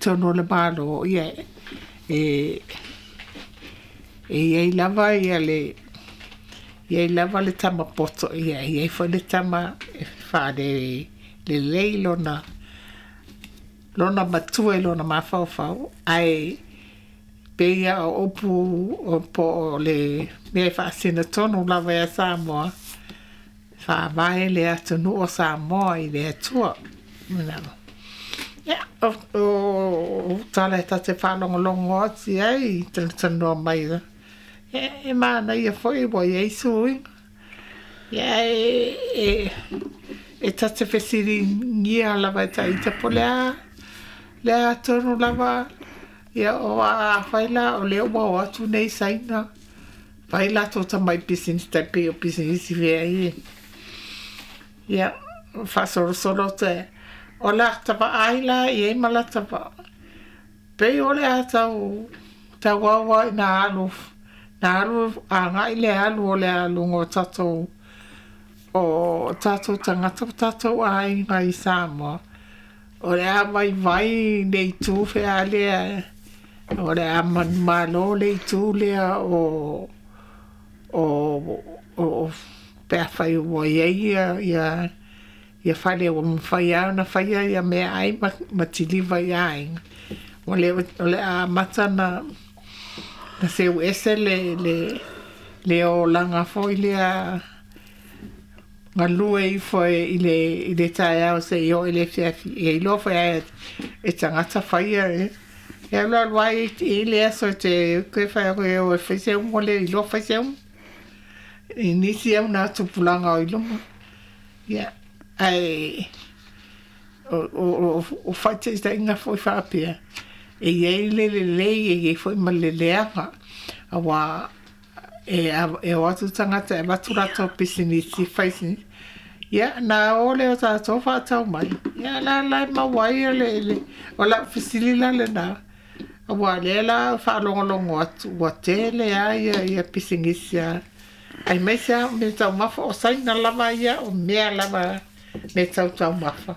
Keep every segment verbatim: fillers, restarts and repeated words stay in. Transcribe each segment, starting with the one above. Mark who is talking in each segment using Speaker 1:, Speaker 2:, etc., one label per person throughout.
Speaker 1: totonu o le Malo, ia e e i ai lava ia le i ai lava le tama poto, ia e i ai foi le tama e faalelelei lona lona matua i lona mafaufau, ae pei lava o upu po o le mea e faasino tonu lava ia Samoa, faavae le atunuu o Samoa i le Atua. Ia, o tala e ta te faalogologo atu i ai i talatalanoa mai, ia e manaia foi ua i ai suiga. Ia e, e, e ta te fesiligia lava e taita po o le a le a tonu lava, ia o afai la o lea ua o atu nei Saina fai latou tamai pisinisi tai pei o pisinisi fea ia. Ia faasolosolo te o lata vaai la i ai ma lata va pei o le a tau tau aua ina alu na alu agai le alu o le aluga o tatou o tatou tagata o tatou aiga i Samoa, o le a vaivai le itu fea lea, o le a manumalo le itu lea o o o pe afai ua i ai ia ia ia fale ua mafai lava ona faia ia meaai ma, ma kiliva i aiga. O le, o le a amata na na seu ese le le le olaga foi lea galue ifo i le i le taeao seia oo i le afiafi, e iloa foi e e tagata faia e e alu alu ai i le aso e te koe fai atu e o e fai se umu le iloa fai se umu i nisi au na tupulaga o i luma. Ia ae o o o faataitaiga foi faapea e i ai le lelei e i ai foi ma le leaga, auā e e o atu tagata e avatu latou pisinisi fai ia na o lea o tatou faatau mai, ia la la e maua ai le le o lau fesili la lena, auā lea la faalogologo atu ua tele lava ia ia pisinisi a aemaise lava o mea taumafa o Saina lava ia o mea lava mea tau taumafa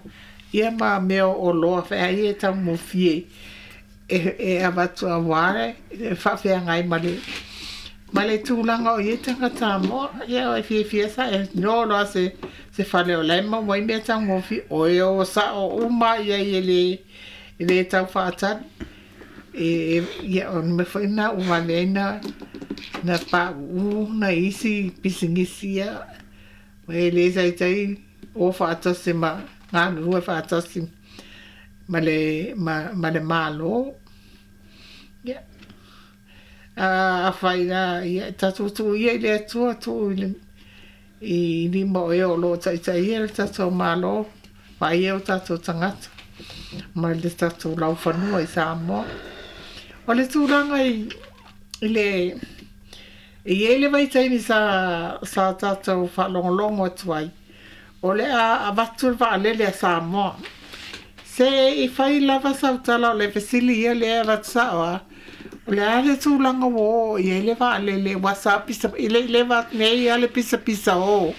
Speaker 1: ia ma mea o oloa feai e taugofie e e avatu auā e faafeagai ma le ma le tulaga o i ai tagata Samoa. Ia e fiafia sa e no loa se se fale o la e maua ai mea taugofie, o e o sao uma i ai e le e le tau faatali e ia o le mea foi lena ua vave ai na na pauu nai isi pisinisi ia e le taitai o faatasi ma galulue faatasi ma le ma, ma le Malo. Ia a afai la ia tatou tuu ia i le Atua, tuu i le i lima o e o lo o taitaia le tatou Malo, vaaia o tatou tagata ma le tatou laufanua i Samoa. O le tulaga i i le e i ai le vaitaimi sa sa tatou faalogologo atu ai, o le a avatu le vaalele a Samoa. Se i fai lava sau tala o le fesili ia lea e avatu sao lava, o le a le tulaga ua oo i ai le vaalele aua sa pisa i le i leva atu nei lava le pisapisa o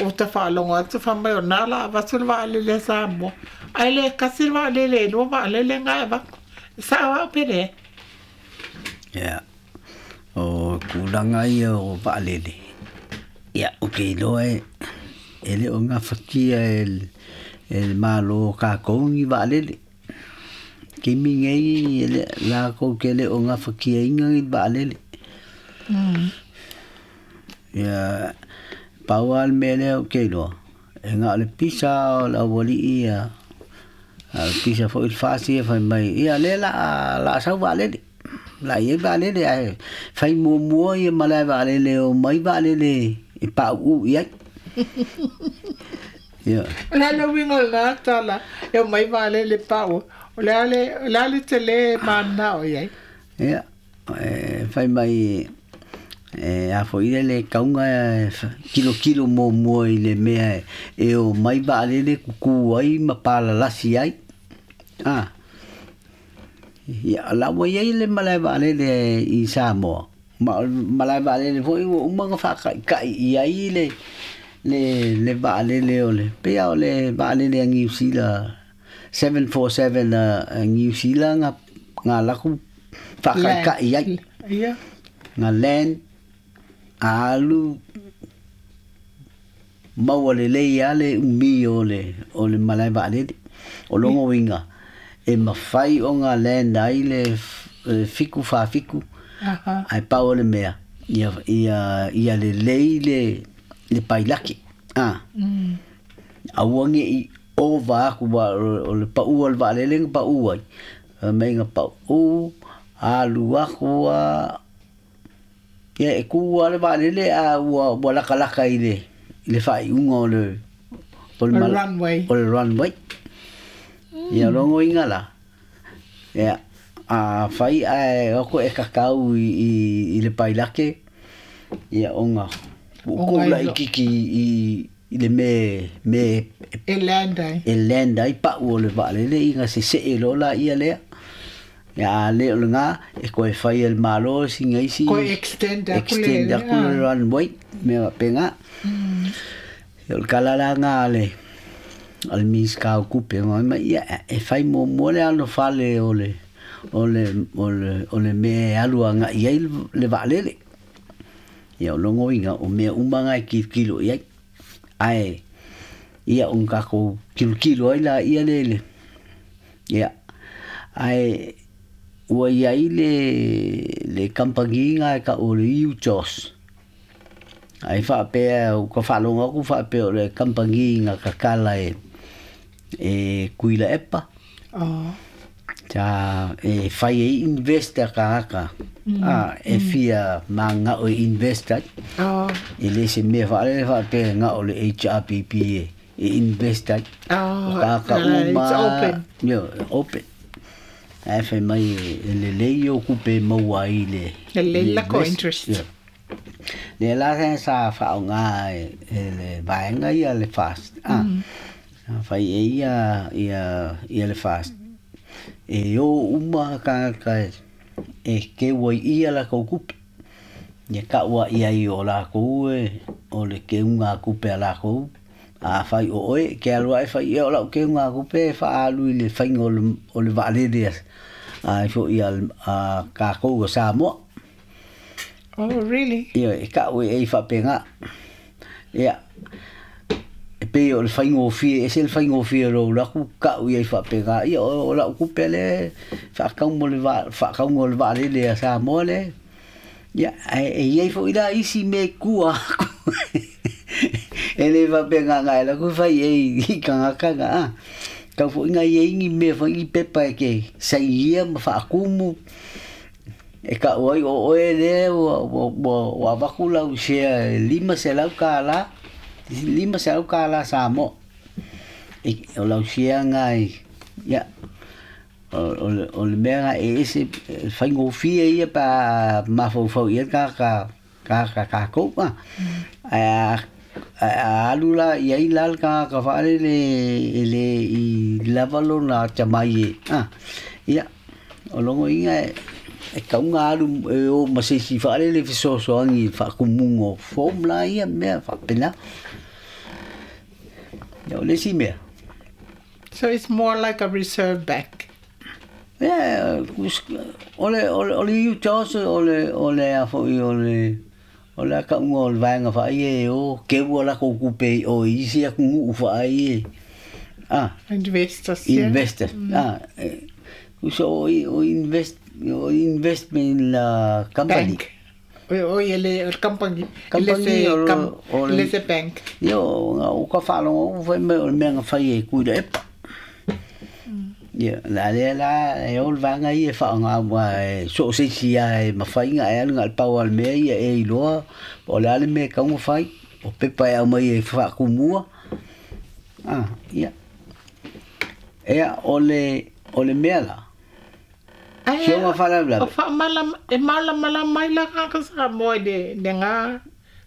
Speaker 1: o ta faalogo atu fai mai o lena o le a avatu le vaalele a Samoa, ae le tasi le vaalele, e lua vaalele na e avatu. E sao au pe leai?
Speaker 2: Ia, o tulaga ia o vaalele, ia ou te iloa e e le o gafatia e e le Malo o tatou ni vaalele. Taimi nei e le latou te le o gafatiaina ni vaalele. Ia pau lava le mea lea ou te iloa, e na o le pisa o le aualii ia, a o le pisa foi le FAST ia fai mai, ia lea o le a o le a sau vaalele. O le a i ai vaalele ae fai muamua ia malae vaalele e omai vaalele e pauu i ai. Ia.
Speaker 1: O le a le uiga o lena tala e omai vaalele pauu? O le a le o le a le tele e mananao i ai?
Speaker 2: Ia, e fai mai e a foi lea le tauga e tilotilo muamua i le mea e omai vaalele tutu ai ma palalasi ai. A ia, o la ua i ai le malae vaalele i Samoa, ma o le malae vaalele foi ua uma ona faataitai i ai le le le vaalele o le pei lava o le vaalele a Niu Sila seven forty-seven a New Zealand nga nga laku whakaikai ai.
Speaker 1: Ia.
Speaker 2: Nga land alu maua lelei a le umi o le o le malae vaalele. O logo uiga e mafai ona land ai le fiku faafiku.
Speaker 1: Aha.
Speaker 2: Ae pau o le mea ia ia ia lelei le le pailaki. Ah.
Speaker 1: Mm.
Speaker 2: Aua neʻi ova aku wa o le paʻu o le vaalele na paʻu ai. Fai mai na paʻu alu aku a ia e kū a le vaalele a ua ua lakalaka i le i le faaiuga o le o le
Speaker 1: O le
Speaker 2: mala-
Speaker 1: runway.
Speaker 2: o le runway. Ia logo uiga la ia a fai ae oko e kakau i i i le pailake ia ona ukou
Speaker 1: Ona
Speaker 2: laʻikiki i i le me me
Speaker 1: E land ai.
Speaker 2: e land ai paʻu o le vaalele ina seseʻe loa laia lea. Ia a le o lagā e koe fai e le Mālō siga isi
Speaker 1: Koe extend aku le
Speaker 2: extend aku le
Speaker 1: ah.
Speaker 2: runway mea faapegā. Ia o le kala laga a le a le Minisita o Tupe ma mai ia e fai muamua le alofale o le o le o le o le mea e alu agaʻi ai le vaalele. Ia o logo uiga o mea uma ga e kilokilo i ai. Ae ia o takou kilokilo ai laia le le ia ae ua iai le le kampani ga e taʻu o le U J O S. Ae faapea ua faalogo aku faapea o le kampani na kakala e e Tuilaepa.
Speaker 1: Oh.
Speaker 2: Sa e fai e invest a tagata a e fia maga'o e invest ai.
Speaker 1: Oh.
Speaker 2: E lē se mea faalele faapea ga'o le H R P P e e invest ai.
Speaker 1: Oh.
Speaker 2: O tagata
Speaker 1: Uh,
Speaker 2: uma
Speaker 1: it's open.
Speaker 2: Io, open. Ae fai mai e lelei o kupe maua ai le
Speaker 1: Lelei
Speaker 2: le
Speaker 1: lako
Speaker 2: invest.
Speaker 1: interest.
Speaker 2: Ia. Le la sa faaaogā e e le vaega ia le FAST. Ah. Fai e ia ia ia le FAST. E o uma tagata e e keu ai ia lakou kupe. Ia taʻu aʻi ai o lakou e o le keuga kupe a lakou. A fai o oe ke alu aʻe fai ia o lau keuga kupe e faaalu i le faiga o le o le vaalele a ai foʻi a a kakou o Samoa.
Speaker 1: Oh, really?
Speaker 2: Ia e taʻu e faapegā. Ia e pei o le faigofie ese le faigofie o lou laku taʻu iai faapegā ia o o lau kupe le faakau mo le va faakauga o le vaalele a Samoa le. Ia ae e iai foʻi la isi mea i kua aku. E lē faapegā gae laku fai e i tagata ga a. Tau foʻi ga iai ni mea foʻi ni pepa e ke sainia ma faakumu. E taʻu ai o oe lea ua ua ua ua avatu lau sea e lima selau kālā lima selau kālā Samoa. E o lau sea gai ia o o le o le mea ga e ese e faigofie ia pa mafaufau i ai tagata tagata kakou a. Ae a a alu la iai la le tagata faalele e lē i lava lona atamai e a. Ia o logo uiga e e kauga alu e o ma se isi faalele fesoasoani i le faakumuga o form laia mea faapena. Ia o le isi mea.
Speaker 1: So it's more like a reserve bank.
Speaker 2: Ia o le o le o le U J O S o le o le a foʻi o le o le akauga o le vaega faaia e o keu a lakou kupe o i isi atunuu faaia e a
Speaker 1: Investors, yeah.
Speaker 2: Investors a e uso o o invest o investment la company.
Speaker 1: Bank. O, o ele o company.
Speaker 2: Company
Speaker 1: Ele se
Speaker 2: o-
Speaker 1: com,
Speaker 2: o le-
Speaker 1: ele se bank.
Speaker 2: Ia o o ka faalogo fai mai o le mea na fai e Tuilaepa. Ia la lea la e o le vaega ia e faaaogā ua e so o se isi a e mafai ona e alu na o le pau o le mea ia e iloa po o le a le mea e tatau ona fai o pepa e aumai e faakumua. Ah, ia. Ea o le o le mea la.
Speaker 1: Ai,
Speaker 2: Sioga faalavelave.
Speaker 1: O faamala e malamalama mai la ka Samoa i le le ngā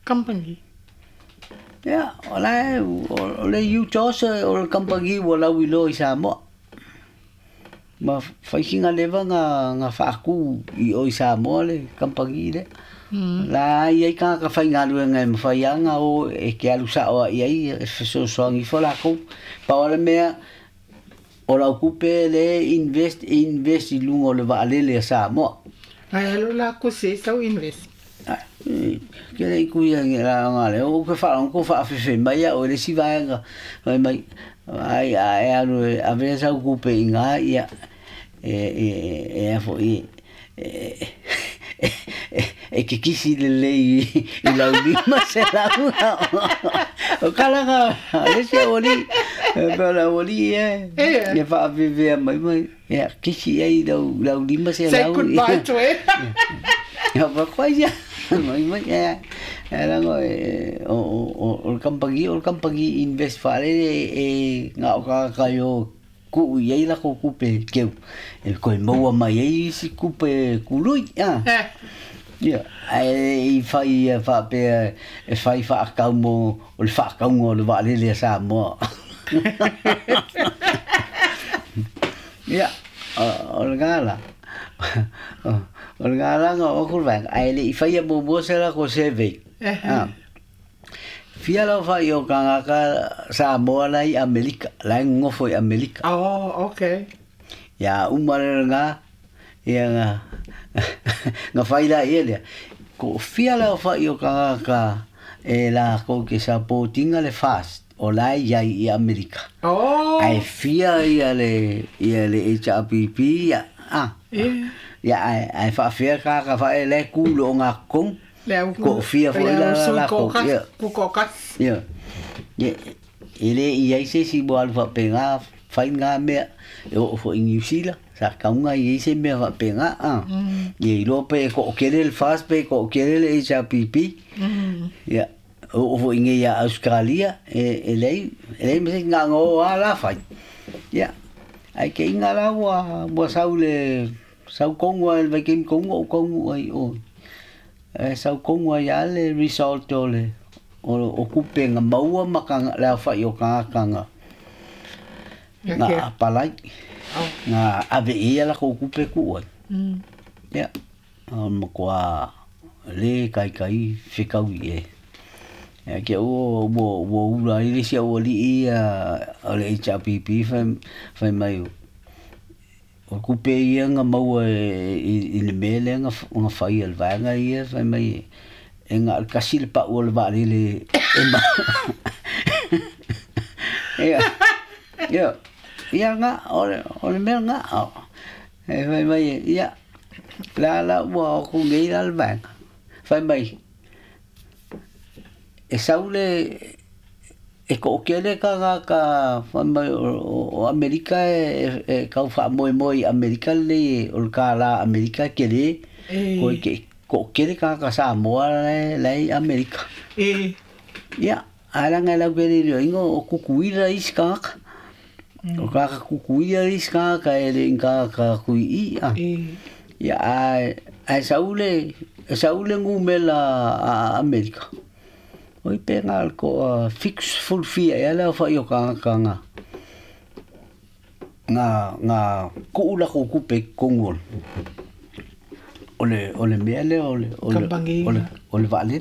Speaker 1: company.
Speaker 2: Ia, o la e o le U J O S o le kampanī ua lauiloa i Samoa. Ma faisiga leva na na faakū i o i Samoa le kampanī lea.
Speaker 1: Mm.
Speaker 2: La ai ai tagata faigaluega e mafai lava ona o e ke alu sao ai ai e fesoasoani ifo lakou. Pau o le mea o O lau kupe le invest invest i luga o le vaalele a Samoa.
Speaker 1: Ai alu la ku se sau invest.
Speaker 2: Ke le ku ia nge la nga le o ke fa ko fa fe fe mai o le si vaega mai mai ai ai alu ave sau kupe inga ia e e e fo i e ke kisi le lei i lau lima se lau o kalaga le se oli e la oli e e fa ve mai mai e kisi ai lau lau lima se
Speaker 1: lau. Say goodbye to it.
Speaker 2: Ya pa kwai ya mai mai e e la ngo o o o kampagi o kampagi invest fa le e nga o ka ka yo ku i la ko kupe keu e ko maua mai ai si kupe kului a ia ai i fai fa pe e fai fa ka mo o le fa ka ngo le va le le sa mo ia o le gala o le gala ngo o kurva ai le i fai mo mo se la ko se ve ah fia lau fai o kangaka Samoa lai Amerika, lai ngofo i Amerika.
Speaker 1: Oh, okay.
Speaker 2: Ia umare nga, ia nga, nga fai la ia lea. Ko fia lau fai o kangaka e la ko ke supportinga le fast o lai iai i Amerika.
Speaker 1: Oh.
Speaker 2: Ai fia ia le, ia le H R P P, ia, ah. Ia, ai, ai whaafea kaka whae le kulo o ngā kong. Ko fia foi la la ko ia
Speaker 1: ko kas
Speaker 2: ia ia ele ia se si bo alfa penga fai nga me o fo in New Zealand sa ka nga ia se me fa penga a ia lo pe ko kele el fast pe ko kele el H R P P ia o fo in ia Australia e ele ele me nga ngo ala fai ia ai ke inga la wa wa saule sau kongo el vai kim kongo kongo ai o e sau kongo ia le result o le o o kupe nga maua maka la fa yo ka ka nga nga palai nga ave ia la ko kupe ku ai ya mo kwa le kai kai fikau ye e ke o o o ula ile sia o li ia o le H R P P fa fa mai o kupe ia nga maua i le mele nga nga fai al vaega ia fai mai e nga kasi le pa o le vale le e ma ia ia ia nga o le o le mea nga e fai mai ia la la ua o ku ngei la le vaega fai mai e saule e ko kele ka nga ka mai o Amerika e e kau fa moi moi Amerika le o ka la Amerika kele ko ke ko kele ka ka Samoa le le Amerika
Speaker 1: e
Speaker 2: ia ala nga la kele le ingo o kukuira iska o ka ka kukuira iska ka ele ka ka kui i a ia ai ai saule saule ngumela Amerika oi penga ko fix full fee ia la fa yo ka ka nga nga nga ku la ku kupe kongol ole ole mele ole ole ole ole vale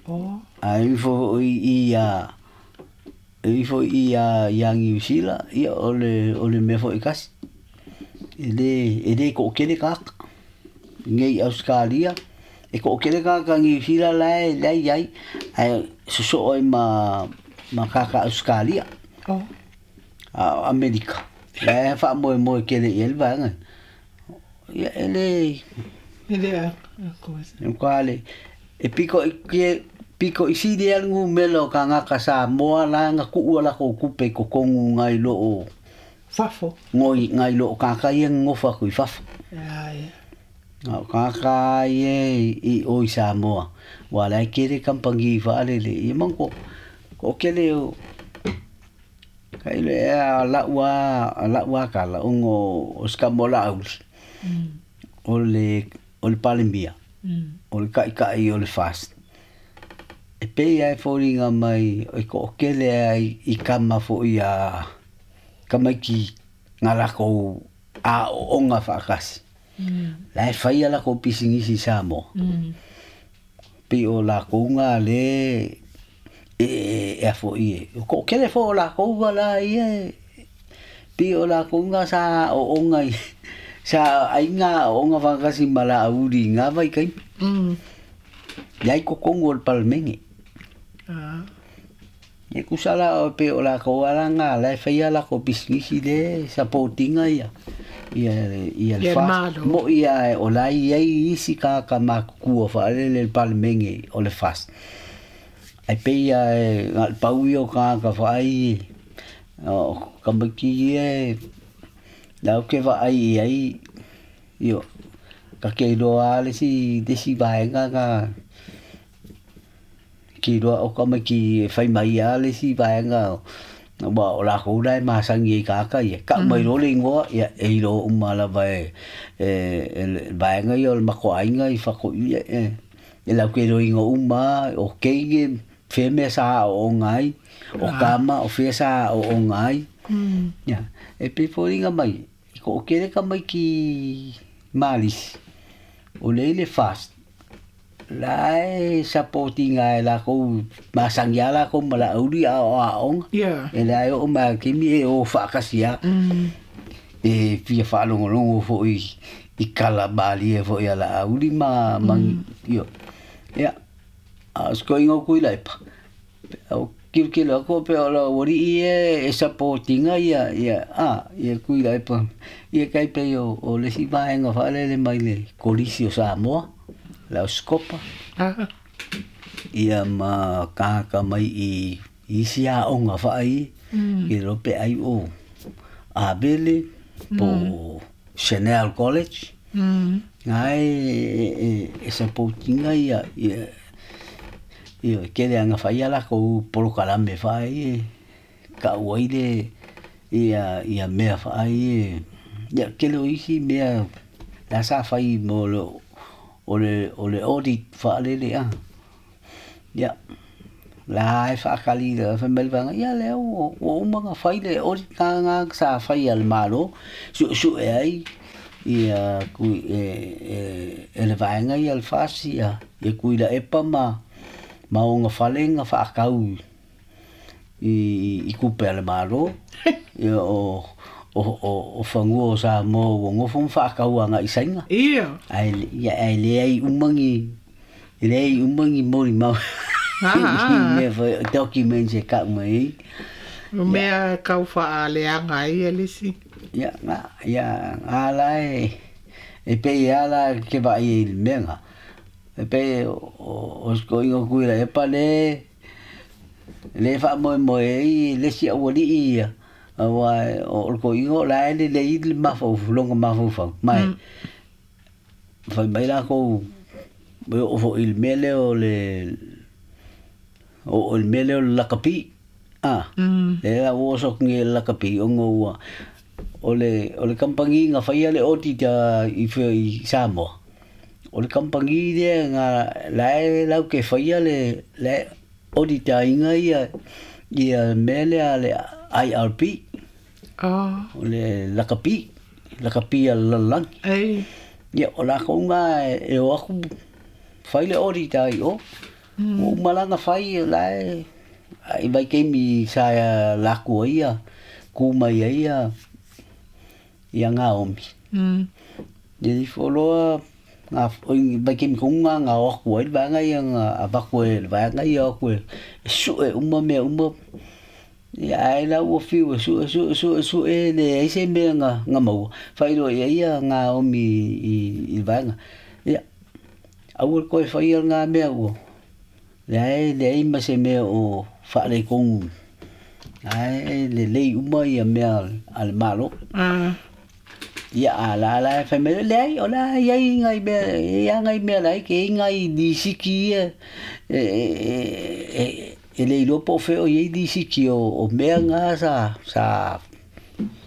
Speaker 1: oh
Speaker 2: ai fo i ia i fo i ia ia New Zealand ia ole ole me fo i kas ele ele ko kele ka ngai Australia e ko kele ka ka New Zealand lai lai ai ai so ai ma ma ka ka Australia
Speaker 1: oh
Speaker 2: a Amerika lai fa mo mo kele el va nga ia ele
Speaker 1: ele a ko
Speaker 2: ko e piko ke piko isi de al ngumelo ka nga ka Samoa la nga ku la ko kupe ko kongu ngai lo o
Speaker 1: fafo
Speaker 2: ngoi ngai lo ka ka ia ngofa ku fafo
Speaker 1: ia ia
Speaker 2: nga ka ka ye i o i Samoa wala kere kampangi fa le le i manko ko kele o kai le la wa la wa ka la ongo o skamola au o le o le palembia o le kai kai o le fast e pe ai foringa mai e ko kele ai i kama fo ia kamaiki ngala ko a onga fa kasi
Speaker 1: Mm.
Speaker 2: La e whai ala ko pisingisi Samoa.
Speaker 1: Mm.
Speaker 2: Pi o la kounga le e e afo i e. Ko kele fo la kounga la ia Pi o la konga sa o onga sa ainga o onga whakasi mala auri ngā vai kai.
Speaker 1: Mm.
Speaker 2: Iai ko kongo o le palmenge.
Speaker 1: Ah.
Speaker 2: Ia kusala o pe o la ko ala ngā lai whaia la ko bisnisi le supportinga ia. Ia ia le fa mo ia o la ia isi ka ka makukua whaale le palmenge o le fast. Ai pe ia ngā pau i o ka ka whaai o kamaki e lau ke whaai ai io ka ke roa le si desi vaenga ka ki roa o kamaki whai mai a le si vaenga wa o la koura e masangi e kaka ia ka mai ro le ingoa ia e ro umala vai e vaenga ia o le makoainga i whako ia e e lau ke ro ingo uma o keige whemea sa o ngai o kama o whea sa o o ngai.
Speaker 1: Mm.
Speaker 2: Ia e pe fōringa mai i ko o kere ka mai ki Malis o leile fast la e supportinga e la kou masangi ala kou mala auri a o a onga.
Speaker 1: Yeah.
Speaker 2: E la e o ma kimi e o whaakasia.
Speaker 1: Mm.
Speaker 2: E fia whaalongolongo fo i i kala bali e fo i ala auri ma mangi.
Speaker 1: Mm.
Speaker 2: Io. Ia. A sko ingo kui laipa. O kilokilo ako pe o la wari i e e supportinga ia ia a ia kui laipa. Ia kai pe o o le si vaenga whaalele mai le kolisi o Samoa. La skopa.
Speaker 1: Ah.
Speaker 2: Ia ma kāka mai i isi a onga whaai.
Speaker 1: Mm.
Speaker 2: I rope ai o Abele po
Speaker 1: mm.
Speaker 2: Chanel College.
Speaker 1: Mm.
Speaker 2: Ngai e, e, e supportinga ia ia ia kere anga whai ala ko porokalame whaai e ka uaile ia ia mea whaai e ia kele o isi mea la sa whai mo lo o le o le audit whaalele a. Ia la e whaakali le whamelwanga ia le o o umanga whai le audit ngā ngā sa whai al malo su su e ai ia kui e e e le vaenga ia le fasi ia ia kui la epa ma ma o ngā whalenga whaakau i i kupe ale malo ia o o o o whangua o Samoa o ngofo whaakau anga i sainga.
Speaker 1: Ia.
Speaker 2: Ai ia ai le ai umangi le ai umangi mori mau.
Speaker 1: Ah.
Speaker 2: Me fa documents e ka mai.
Speaker 1: O mea kau whaaleanga ai alisi.
Speaker 2: Ia nga ia ala e e pe ala ke vai i menga. E pe o o sko ingo kui la e pa le le fa mo mo e le si awali ia. Awa o ko ingo la le le i le mafo longa mafo fa mai. Fa mai la ko o fo il mele o le o il mele o la kapi. Ah.
Speaker 1: Mm.
Speaker 2: Le la o so ngi la kapi o ngo o le o le kampangi nga fa ia le oti ta i i Samoa. O le kampangi le nga la la ke fa ia le le oti ta inga ia ia mele a le I R P.
Speaker 1: Oh.
Speaker 2: O le lakapi, lakapi a lalangi.
Speaker 1: Ei.
Speaker 2: Ia o la konga e o aku whai le ori tai o.
Speaker 1: Mm.
Speaker 2: O malanga whai la e ai vai kemi sa laku ia ku mai ia ia ngā omi.
Speaker 1: Mm.
Speaker 2: Ia di wholoa ngā vai kemi konga ngā o aku ai vanga ia ngā avaku e vanga ia aku e su e uma mea uma. Ia ai la ua fiu su su su su e le ai se mea ngā ngā maua. Whairo ia ia ngā omi i i vanga. Ia aua koe whai ngā mea ua. Le ai le ai ma se mea o whaarei kongu. Ai le lei uma ia mea a le malo.
Speaker 1: Ah.
Speaker 2: Ia a la la whai mea le ai o la ia i ngai mea ia ngai mea lai ke ngai disiki ia e e e e le ilopo wheo i disiki o o mea ngā sa sa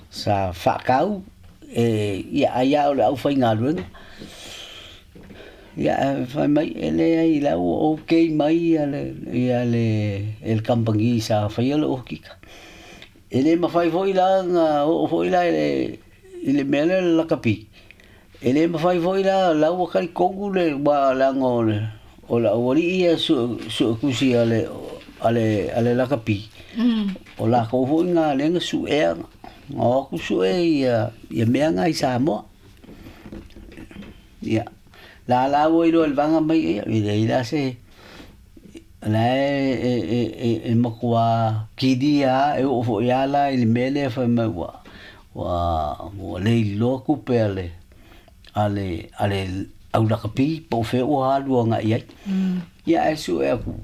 Speaker 2: sa whakau e ia aia o le au whai ngā ruenga. Ia whai mai e le ai lau o okay mai ia le ia le el kampangi sa whai o le okika. E le mawhai foi la ngā o foi la e i le mea le lakapi. E le mawhai foi la lau wakari kongu le wa la ngō le o la wari ia su su kusi a le a le a le lakapi.
Speaker 1: Mm.
Speaker 2: O la kou foi ngā lenga su ea O aku sue ia ia mea ngai Samoa. Ia la la ua iloa i le vaga mai ia e leai la se la e e e e makuā kilia e oo foʻi a la i le mea lea fai mai ua ua ua le iloa kupe a le a le a le aulakapi po o fea ua alu agaʻi ai. Ia ae suʻe aku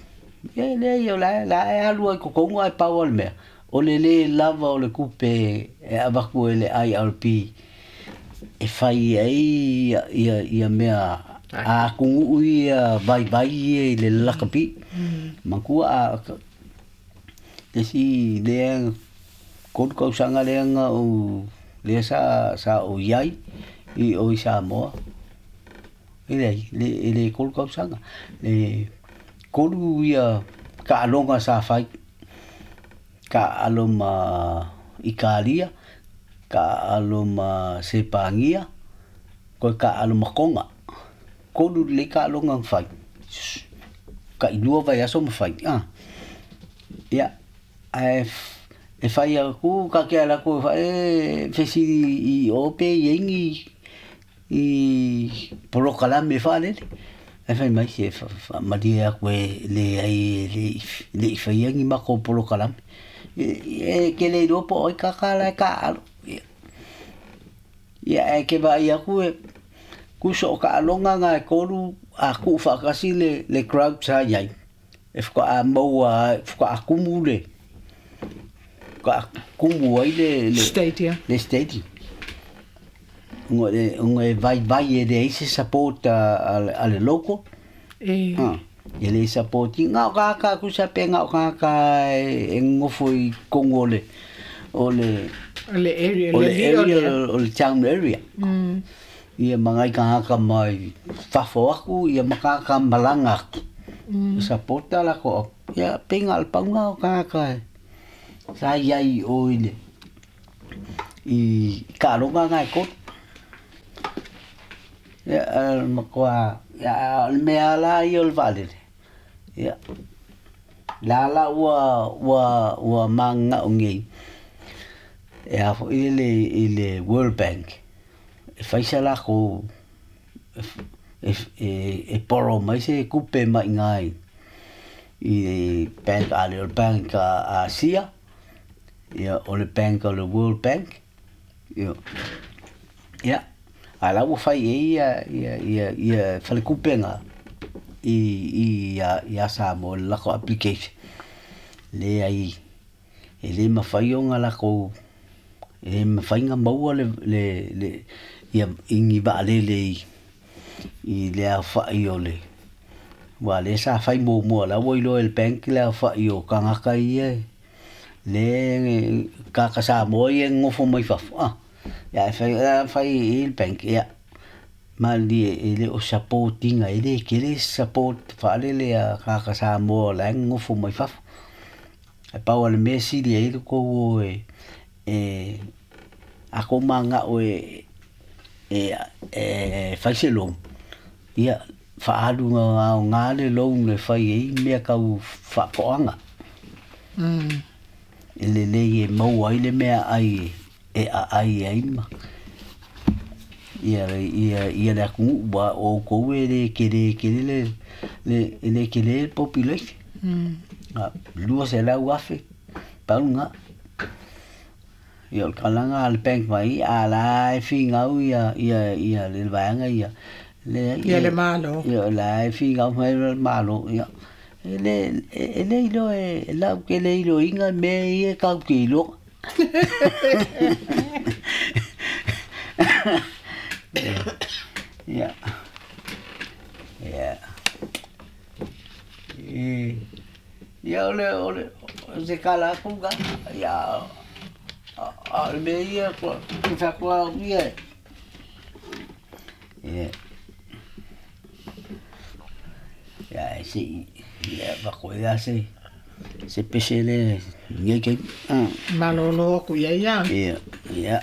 Speaker 2: ia e leai o la la e alu ai totonu ae pau a le mea o le lē lava o le kupe e avatu e le I R P e fai ai ia ia ia mea a atunuu ia vaivai ia i le lakapi. Matua a isi lea kolu tausaga lea na ou lea sa sa ou iai i o i Samoa. E leai le e le kolu tausaga le kolu ia taaloga sa fai taalo ma Italia, taalo ma Sepagia, toe taalo ma Tonga. Kolu lelei taaloga na fai tailua vaiaso ma fai a. Ia ae e fai aku ka ke ala aku e fesili i o pe i ai ni i polokalame faalele. Ae fai mai se faamalie aku e leai e le le i faia ni makou polokalame. E ke le iloa po o ai kaka la e taalo. Ia ae ke vaai aku e kuso o taaloga na e tolu a tuu faatasi le le crowd sa iai. E faatoa maua faatoa kumu le faatoa kumu ai le le
Speaker 1: Stadium.
Speaker 2: Le stadium. Ona e ona e vaivai e leai se support a a le local.
Speaker 1: E.
Speaker 2: Ah, e le support ina o kākā kusa pe ngā o kākā e ngofo i totonu o le o le
Speaker 1: O le area,
Speaker 2: o
Speaker 1: le
Speaker 2: le area
Speaker 1: lio
Speaker 2: o le town area.
Speaker 1: Mm.
Speaker 2: Ia mangai kākā mai fafo aku, ia makākā malanga aku.
Speaker 1: Mm.
Speaker 2: Support la ko. Ia penga al paunga o kākā. Sa iai o i le i taaloga ngai kolu. Ia makuā ia o le mea la ia o le vaalele. Ia la la ua ua ua magagao nei e a foʻi le i le World Bank e fai sa lakou e e e borrow mai se kupe maʻiga i i bank a le o le bank a Asia ia o le bank o le World Bank. Ia ia a la ua fai ai ia ia ia ia falekupega i i ia ia Samoa i le lakou application. Leai e lē mafai ona lakou e lē mafai ona maua le le le ia i ni vaalele i i le aofaʻi o le ua lea sa fai muamua la ua iloa e le bank le aofaʻi o tagata ia le tagata Samoa ia e nonofo mai fafo a. Ia e fai fai i le bank ia malie e le o support ina e le kele support faalele a tagata Samoa o la e nonofo mai fafo. Ae pau o le mea sili ai le tou o e e a kou magao e e e fai se loan ia faaalu aoga le loan e fai ai mea tau faatoaga.
Speaker 1: Mm.
Speaker 2: E lelei e maua ai le mea ai e aai ai ma ia ia ia le atunuu ua o outou e le kele kele le le e le kele le population.
Speaker 1: Mm.
Speaker 2: A lua selau afe pau lena. Ia o le tulaga a le bank mai a la e figau ia ia ia le vaega ia le
Speaker 1: Ia le malo.
Speaker 2: Ia la e figau mai le malo ia e le e le iloa e lau ke le iloiga mea ia tatou te iloa. Ia ia e ia o le o le o se kala aku ka ia a o le mea ia kua faakuā ia e ia e seʻi ia fakoea se se pese le nei taimi.
Speaker 1: Malolo aku ia ia.
Speaker 2: Ia ia.